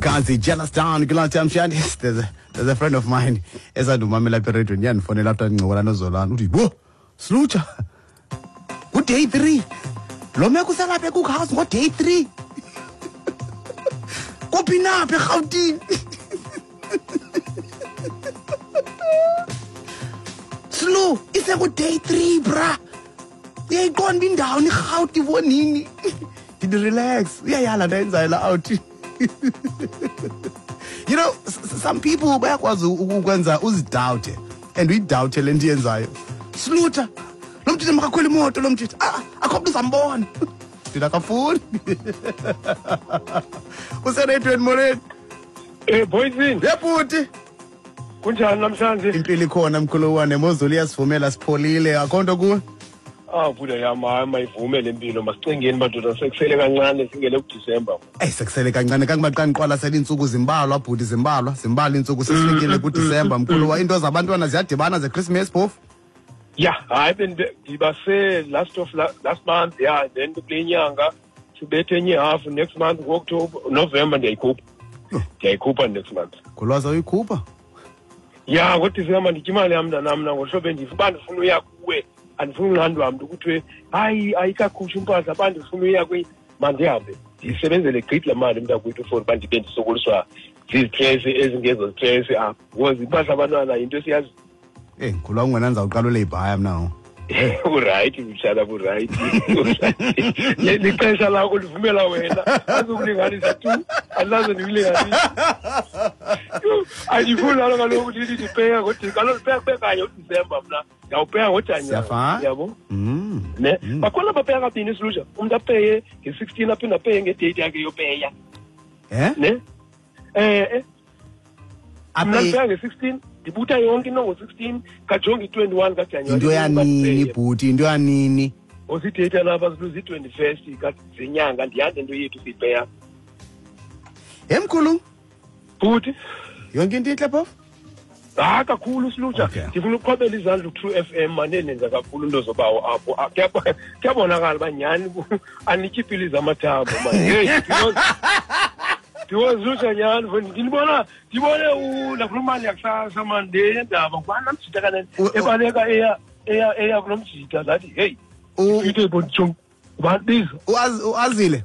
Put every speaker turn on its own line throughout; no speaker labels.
Kanzi jealous down kulaa mshandi. There's a friend of mine esandumamela apha erediyweni, yandifonela after ndincokola noZolani. Uthi, "Bo Slutsha, ku-day 3 lo meko uselapha eCookhouse, ngo-day 3 kuphi napha eRhawutini? Slu, iseku-day 3, bra, uyayiqonda indawo nirhawuti bonini?" Ndithi, "Relax, uyayala nto ayenzayo la out." Some people bayakwazi ukwenza uzidawute and uyidawute le nto iyenzayo. "Sluta, lo mtshitha makakhwela imoto, lo mtshitha, ah, akho mntu uzambona." Ndithi, "Akafuni." Useredweni, molweni.
Boyzini.
Yebhuti.
Kunjani namhlanje?
Impilo ikhona, mkhulu wane, mozulu iyasivumela, sipholile, akho nto kuwe.
Ah, buda yam, hayi, mayivume le mpilo, masicingeni madoda, sekusele kancane singene kuDisemba.
Eyi, sekusele kancane kangoba xa ndiqwalasela iintsuku zimbalwa, bhuti, zimbalwa, zimbalwa iintsuku, sesifikile kuDisemba, mkhulu wa. Iinto zabantwana ziyadibana zeChristmas phofu.
Ya, hayi, ndibase last of last month, ya, then kule nyanga sibethe enye half, next month ngo-October, November ndiyayikhupha. Ndiyayikhupha next month.
Ngolwazi awuyikhupha?
Ya, ngoDisemba nditya imali yam mntanam, mna ngohlobo endifa uba ndifuna uya kuwe, andifuni unqandwa mntu kuthiwe hayi ayikakhutshwa impahla, uba ndifuna uya kwi mandihambe ndiyisebenzele gqithi laa mali mntakwethu for uba ndibe ndisokoliswa zizitresi ezingezo zitresi apha, because impahla abantwana yinto esiyazi.
Eyi, mkhulu wam, wena ndizawuqala uleyibhaya mna ngoku.
Urayithi mtshana, burayithi. Lixesha lakho livumela wena, azukulinganisa tu, andilaze ndikulinganisa. Andifuni nalo kaloku ndithi ndipeya kaloku ndipeya kube kanye uDisemba, mna ndiyawupeya ngoJanuwari.
Siyafana.
Yabo ne, bakhona bapeya kabini isilusha, umntu apeye nge-16 aphinde apeye ngedate yakhe yopeya.
Eh?
Ne, mna
Ape
ndipeya nge-16, ndibutha yonke into ngo-16, kajonge i-21 kaJanuwari.
Into yanini, bhuti, into yanini?
Ozidate lapha ziyi-21st zenyanga, ndiyanda into yethu siyipeya.
Hemkhulu.
Bhuti.
Yonke into intle phofu?
Hayi, kakhulu silutsha. Ndifuna ukuqhwabela izandla uTrue FM, mane nenza kakhulu into zobawo apho. Ah, kuyabonakala uba nyhani anityi iipilisi amathambo man. Heyi, because lutsha nyhani mfo, ndinibona, ndibone nakulo mali yakusasa mani, le yendaba ngubani namjita kanene ebaleka eya kulo mjita, ndathi heyi, ndifike bonjong ngubani biza.
Uazile.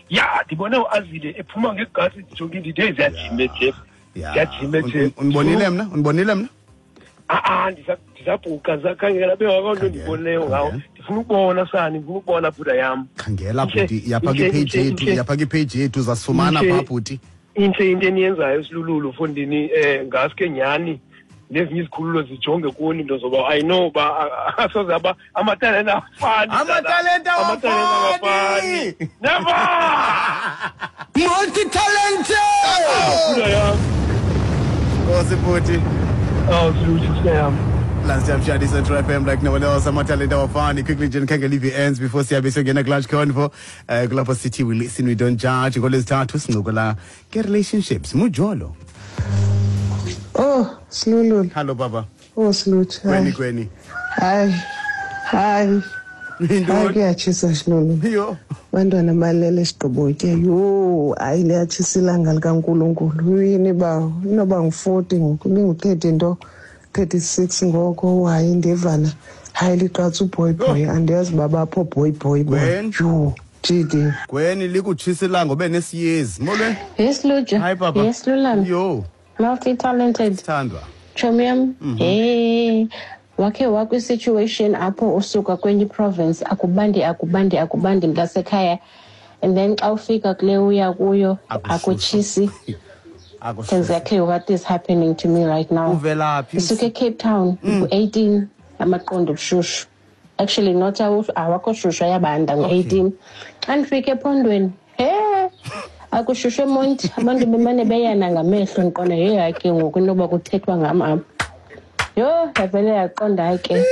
Ya, ndibone uAzile ephuma ngegasi, ndijonge ndithi heyi, ziyajima eJeff, ziyajima eJeff.
Undibonile mna? Undibonile mna?
A-a, ndisabhuqa, ndisakhangela bengakho nto ndibonileyo ngawo. Ndifuna ukubona sani, ndifuna ukubona bhuda yam.
Khangela bhuti, yapha kwipage yethu, yapha kwipage yethu, uzasifumana phaa, bhuti.
Intle into eniyenzayo silululu fondini, ngaske nyhani nezinye izikhululo zijonge kuni into zoba I know uba asoze aba amatalente awafani.
Amatalente
Amatalente
awafani.
awafani. Never.
Multi-talented!
Bhuda yam.
Nkosi, bhuti.
Oh, siluthu yam.
Last time Shadi Central FM like no one else, amatalente awafani. Quickly nje ndikhangela ii-VNs before siyabe siyongena kulunch convo. Kulapho sithi we listen, we don't judge. NgoLwezithathu sincokola nge-relationships, mujolo.
Oh, Silululu.
Hello, baba.
Oh, Silutsha.
Kweni kweni.
Hayi. Hayi.
Intoni?
Hayi, kuyatshisa Silulu.
Yho.
Abantwana balele sigqibotye. Yho, hayi, liyatshisa ilanga likaNkulunkulu. Yini bawo? Inoba ngu-40 ngoku, ibingu-30 nto, 36 ngoko. Hayi, ndivana. Hayi, liqatsa uboy boy. Andiyazi uba bapho boy boy boy.
Gwen.
Yho, jidi.
Gweni, likutshisa ilanga ube nesiyezi. Molweni.
Yes, Luja.
Hi, Papa.
Yes, Lulami.
Yho.
Multi-talented.
Sithandwa.
Chomi yam. Hey. Wakhe wakwi-situation apho usuka kwenye province, akubandi, akubandi, akubandi mntasekhaya, and then xa ufika kule uya kuyo
Akushushu.
akutshisi?
Akushushu.
Exactly what is happening to me right now.
Uvelaphi?
Ndisuke eCape Town, ngu-18 amaqondo obushushu, actually not awakho shushu, ayabanda ngo-18. Xa ndifike ephondweni, he, akushushu eMonti, abantu bemane beyana ngamehlo, ndiqonda yeyi, hayi ke ngoku inoba kuthethwa ngam apha. Yho, yavele yaqonda, hayi ke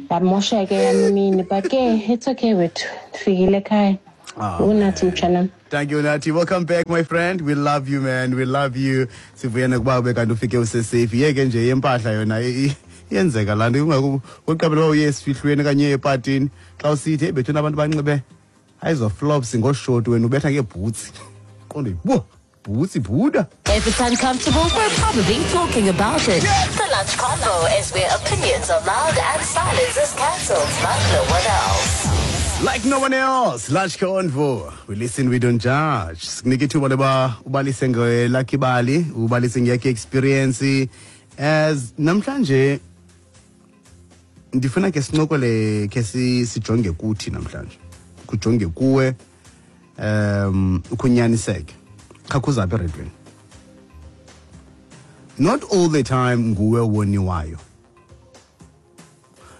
yamosha ke yam imini, but ke it's okay wethu, ndifikile ekhaya.
Ah,
Unathi, mtshanam.
Thank you, Nati. Welcome back, my friend. We love you, man. We love you. Sivuya nokuba ube kanti ufike usesafe. Yeke nje yempahla yona iyenzeka laa nto. Uqaphela uba uye esifihlweni okanye uye epatini. Xa usithi, hey, bethuna, abantu banxibe ayizo flops ngoshoti, wena ubetha ngeebhutsi. Qonde, bo. Bhutsi bhuda.
If it's uncomfortable, we're probably talking about it. The Lunch Convo is where opinions are loud and silence is cancelled, like no one else.
Like no one else. Lunch Convo. We listen, we don't judge. Sikunike ithuba loba ubalise ngelakho ibali, ubalise ngeyakho experience. As namhlanje ndifuna ke sincokole ke sijonge kuthi namhlanje. Kujonge kuwe ukunyaniseke. Khakhuza apha eredweni. Not all the time nguwe woniwayo.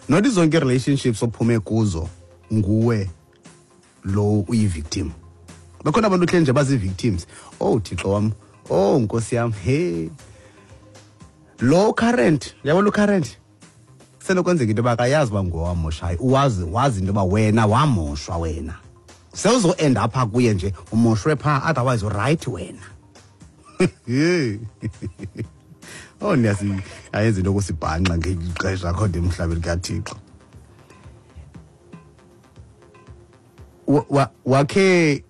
Not zonke relationships ophume kuzo nguwe lo uyi-victim. Bakhona abantu hle nje bazi-victims. Oh Thixo wam, oh Nkosi yam, hey. Lo current, yabo lo current. Senokwenzeka into yoba akayazi uba nguwe wamoshayo. Wazi into yoba wena wamoshwa wena. Sewuzo-end apha kuye nje umoshwe phaa, otherwise uright wena. Hey. Oh niyasi ayenza into yokusibhanxa ngexesha akho nto emhlabeni kaThixo. Wakhe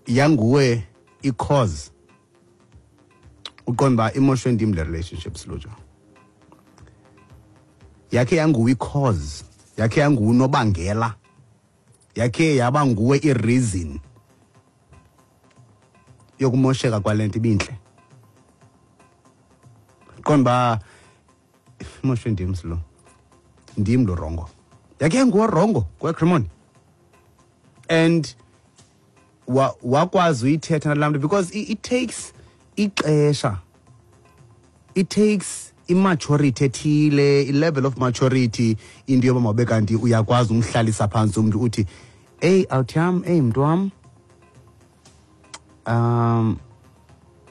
yanguwe i-cause uqonda uba imoshwe ndim le relationship silutsha. Yakhe yanguwe i-cause, yakhe yanguwe unobangela, yakhe yaba nguwe i-reason yokumosheka kwale nto ibintle. Qonda uba imoshwe ndim silo, ndim lo rongo. Yakhe yanguwe rongo kweCremon. And wakwazi uyithetha nalaa mntu because it takes ixesha, it takes immaturity ethile, i-level of maturity into yoba mawube kanti uyakwazi umhlalisa phantsi umntu uthi eyi awuthi yam, eyi mntu wam,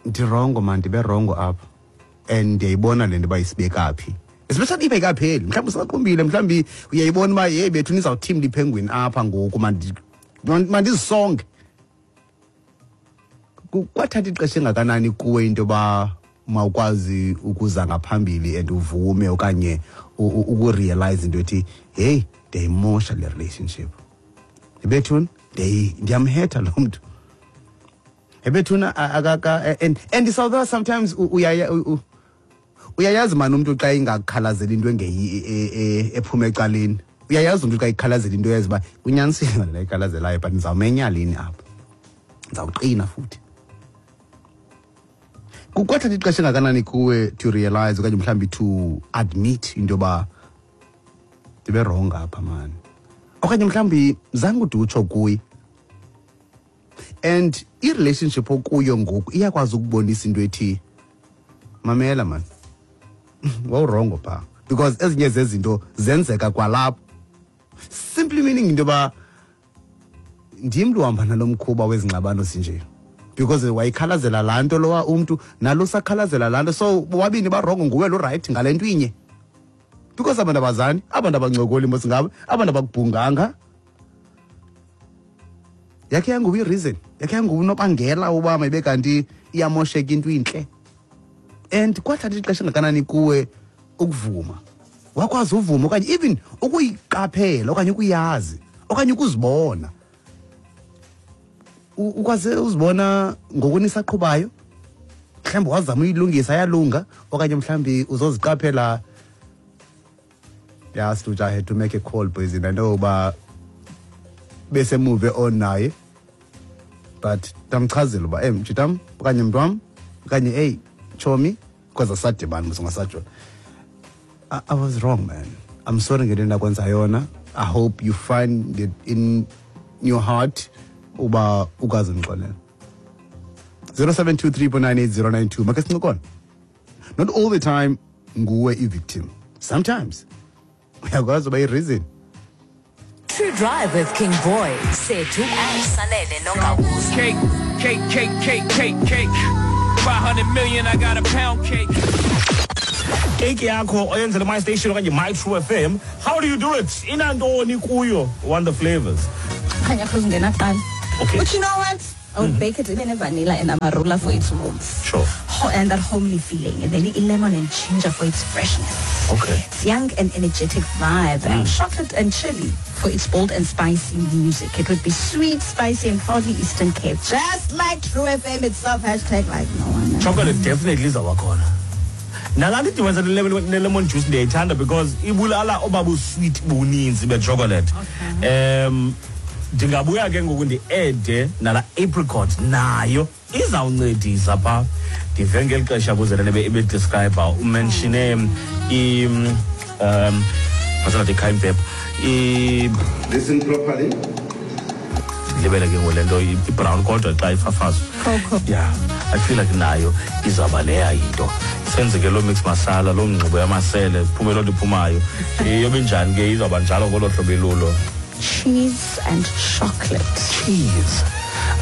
ndirongo man, ndibe rongo apha and ndiyayibona le nto uba isibeka phi. Especially if ayikapheli, mhlawumbi usaqumbile, mhlawumbi uyayibona uba yeyi bethu nizawuthimla ipenguin apha ngoku, mandizisonge. Kwathatha ixesha engakanani kuwe into yoba mawukwazi ukuza ngaphambili and uvume okanye ukurealize into ethi hey ndiyayimosha le relationship, ebethuna ndiyamhetha lo mntu, ebethuna and so sometimes uyayazi mani umntu xa ingakhalazeli into ephuma ecaleni, uyayazi umntu xa ikhalazela into uyazi uba unyanisile ngale ikhalazelayo, but ndizawumenya lini apha, ndizawuqina futhi. Kukwathatha ixesha engakanani kuwe to realize okanye mhlawumbi to admit into yoba ndibe wrong apha mani, okanye mhlawumbi zange ude utsho kuye. And i-relationship okuyo ngoku iyakwazi ukubonisa into ethi mamela mani, wawurongo phaa, because ezinye zezinto zenzeka kwalapho. Simply meaning into yoba ndim lo uhamba nalo mkhuba wezingxabano sinje, because wayikhalazela laa nto lowa umntu nalo usakhalazela laa nto, so bobabini barongo, nguwe lo right ngale nto inye, because abantu abazani, abantu abancokoli mos ngabo, abantu abakubhunganga. Yakhe yanguwe i-reason, yakhe yanguwe unobangela uba mayibe kanti iyamosheka into intle. And kwathatha ixesha engakanani kuwe ukuvuma, wakwazi uvuma okanye even ukuyiqaphela okanye ukuyazi okanye ukuzibona, ukwazi uzibona ngokunisaqhubayo, mhlawumbi wazama uyilungisa yalunga, okanye mhlawumbi uzoziqaphela. Yeah, Stuja, I had to make a call boys, and I know uba bese move on naye, but ndamchazela uba mjitam okanye mntu wam okanye eyi chomi, because asadibani mos ungasajola. I was wrong man, I'm sorry ngento endakwenza yona. I hope you find it in your heart uba ukwazi undixolela. 0723.98092 make sincokole. Not all the time nguwe i-victim, sometimes uyakwazi uba i-reason.
True Drive with King Boy, Sethu and Sanele Nongawuza.
Cake, cake, cake, cake, cake, cake. 500 million, I got a pound cake.
Cake yakho oyenzele My Station okanye My True FM. How do you do it? Inantoni kuyo? Want the flavors?
Khanya kuzungena kuqala.
Okay.
But you know what? I would bake it in a vanilla and amarula for its warmth.
Sure.
And that homely feeling. And then lemon and ginger for its freshness. It's young and energetic vibe. And chocolate and chili for its bold and spicy music. It would be sweet, spicy, and proudly Eastern Cape. Just like True FM itself, hashtag like no one else.
Chocolate definitely izawuba khona. Nalaa nto idibanisa ne-lemon juice ndiyayithanda because ibulala oba busweet buninzi bechocolate. Ndingabuya ke ngoku ndi-adde nala apricot, nayo izawuncedisa phaa. Ndive ngeli xesha kuze le nto ebedescribe, umentione masangathi i-cayenne pepper.
Listen properly.
Ndilibele ke ngoku le nto ibrown kodwa xa ifafazwa.
Cocoa.
Yeah, I feel like nayo izawuba leya yinto. Senze ke loo mix masala, loo ngxubo yamasele, kuphume loo nto iphumayo. Iyobe njani ke, izawuba njalo ngolo hlobo ilulo.
Cheese and chocolate.
Cheese.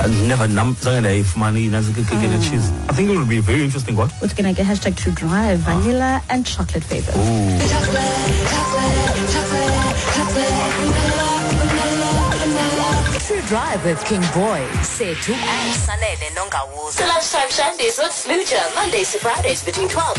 I never, nam zange ndayifumana inantsi keke cheese. I think it would be very interesting what.
What's gonna get hashtag to drive vanilla and chocolate flavors.
Ooh.
True Drive with King Boy, Sethu and Sanele Nongawuza. The Lunchtime Shandies with Sluja, Mondays to Fridays between 12